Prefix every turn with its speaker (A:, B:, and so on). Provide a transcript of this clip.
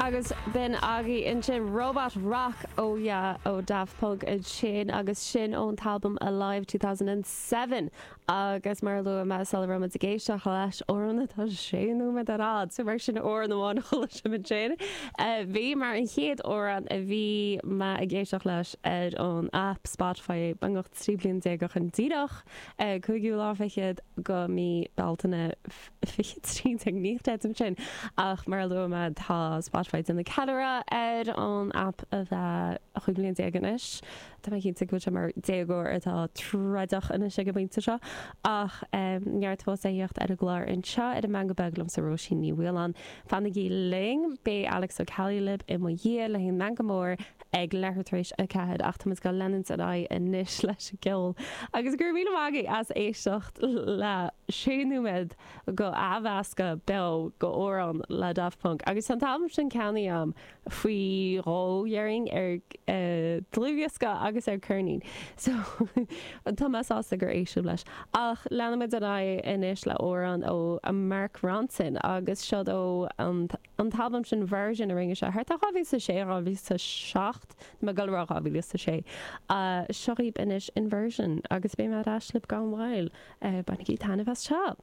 A: Agus b'in agaibh ansin Robot Rock oh yeah ó Daft Punk ansin agus sin ón t-albam Alive 2007 agus mar a luaigh mé sula raibh muid ag éisteacht leis, amhrán atá sé nóiméad ar fhad, so mar sin amhrán amháin a chuala sibh ansin. Bhí mar an chéad amhrán a bhí mé ag éisteacht leis ar an aip Spotify beagnach 13 bliain ó shin díreach, cúigiú lá fichead go mí Bealtaine. 2013, ní chreidim sin, ach mar a luaigh mé tá Spotify ag déanamh ceiliúradh ar an aip a bheith 15 bliain anois. Tá mé cinnte go bhfuil sé mar déagóir atá troideach anois ag an bpointe seo. Ach neart fós a theacht ar an gclár anseo ar an Meangadh Beag liomsa Róisín Ní Mhaoláin. Fanaigí linn, beidh Alex Ó Ceallaigh libh i mo dhiaidh le haghaidh an Meangadh Mór ag leathuair tar éis a 4 ach tá muid ag leanúint ar aghaidh anois leis an gceol. Agus go raibh míle maith agaibh as éisteacht le sé nóiméad go athmheascadh beo go amhrán le Daft Punk agus tá an t-albam sin ceannaithe agam faoi dhó déarfainn ar dlúthdhiosca agus ar ceirnín so tá mé sásta gur éist sibh leis. Ach leanfaimid ar aghaidh anois le amhrán ó Mark Ronson agus seod ó an an t-albam sin Version a rinne sé thart ar 2006, 2007, tá mé ag dul a rá 2006. Seo dhaoibh anois Inversion agus beidh mé ar ais libh gan mhoill. Bainigí taitneamh as seo!